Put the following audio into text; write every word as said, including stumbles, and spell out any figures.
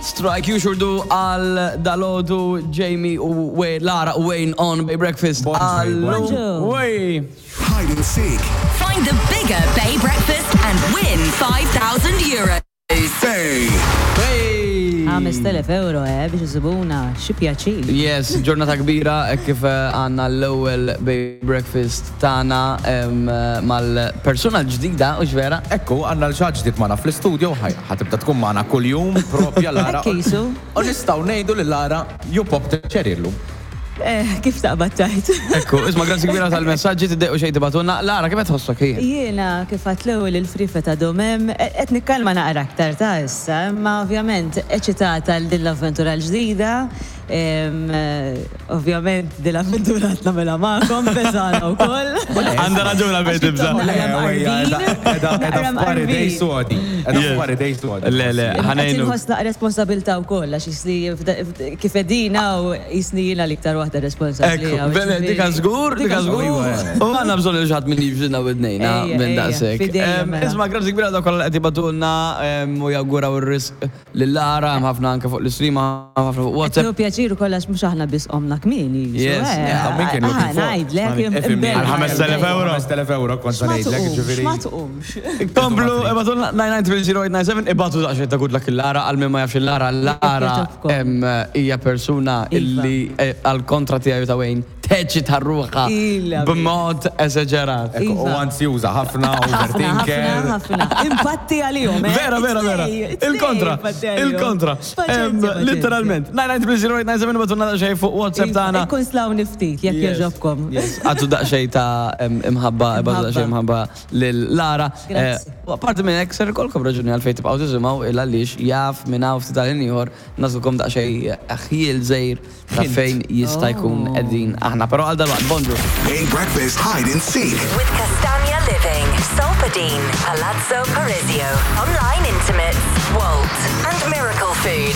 Strike You Sure Do għal dalgħodu Jamie u Wayne, Lara u Wayne on Bay Breakfast. Bonġu, Allu. Wey. Hide and seek. Find the bigger Bay Breakfast and win five thousand euros. Bay. Hey. ħamest elef euro, eh, biex iżibuna, xi pjaċir. Yes, ġurnata kbira eh, kif eh, għandna l-ewwel Bay Breakfast tagħna em, eh, mal-persuna l-ġdida, u vera? Ekku, għandna lil xi ħadd ġdid magħna fl-studio, ħa tibda tkun magħna kull-jum, propja Lara. Hekk jisu. U nistgħu ngħidu lil Lara, you pop the cherry llum. Eh, kif taqbad tajt? Ekku, isma', grazzi kbira tal-messaġġi tiddequ xejn tibagħtulna. Lara, kif qed tħossok hi? Jiena kif għat l-ewwel il-frifa ta' domem, qed nikkalma naqra aktar ta' issa, imma ovvjament eċitata għal din l-avventura l-ġdida. em, eh, Ovvjament din l-avventura qed nagħmilha magħkom beżana wkoll. Għandha raġuna bejn tibża. Edha f'pari dej sodi. Edha f'pari dej sodi. Le, le, ħa ngħinu. Inħoss naqra responsabilità wkoll għax jisni kif edina u jisni jiena l-iktar waħda responsabbli. Ekku, bene, dika żgur, dika żgur. U għandna bżonn lil xi ħadd minn jibżilna widnejna Ejja, minn ejja, daqshekk. fidejja Em, mela. Isma', grazzi kbira dawk kollha qed jibagħtulna em, u jawguraw ir-risq lil Lara, hemm ħafna anke fuq l-istream, ħafna fuq WhatsApp. Qed pjaċir ukoll għax mhux aħna biss qomna kmieni. Yes, yeah, min kien looking for? Ngħidlek. Għal ħames elef euro. ħamest elef euro kont sa ngħidlek, ġifieri. Ma tqumx. Komplu, ibagħtulna nine nine zero eight nine seven, ibagħtu daqsxejn ta' good luck il-Lara, għal min ma jafx il-Lara, Lara Jogħġobkom. em, hija persuna Iva. illi eh, għal kontra tiegħi ta' Wayne teċita ruħha Ila. b'mod esaġerat. Ekku, u Iva. ansjuża ħafna, Ħafna, overthinker. ħafna, ħafna. Impatti għalihom, eh? Vera, vera, vera. It-tnejn, it-tnejn Il-kontra, impatti għalihom. Il-kontra. Paċenzja, Em, paċenzja. Literalment. nine nine zero eight nine seven, ibagħtulna daqsxejn fuq WhatsApp Iva, tagħna. Ikkonslawni ftit, jekk Yes. jogħġobkom. Yes. Għatu daqsxejn ta' em, imħabba, ibagħtu daqsxejn imħabba lil Lara. Grazzi. Eh, U apparti minn hekk ser ikolkom raġuni għalfejn tibqgħu tisimgħu il għaliex jaf minn hawn ftit tal ieħor nagħtukom daqsxejn ħjiel żgħir ta' fejn jista' jkun Oh. qegħdin aħna. Però għal dalwaqt, bonġu. Bay Breakfast Hide and Seek. With Castagna Living, Solpadeine, Palazzo Parisio, Online Intimates, Walt, and Miracle Food.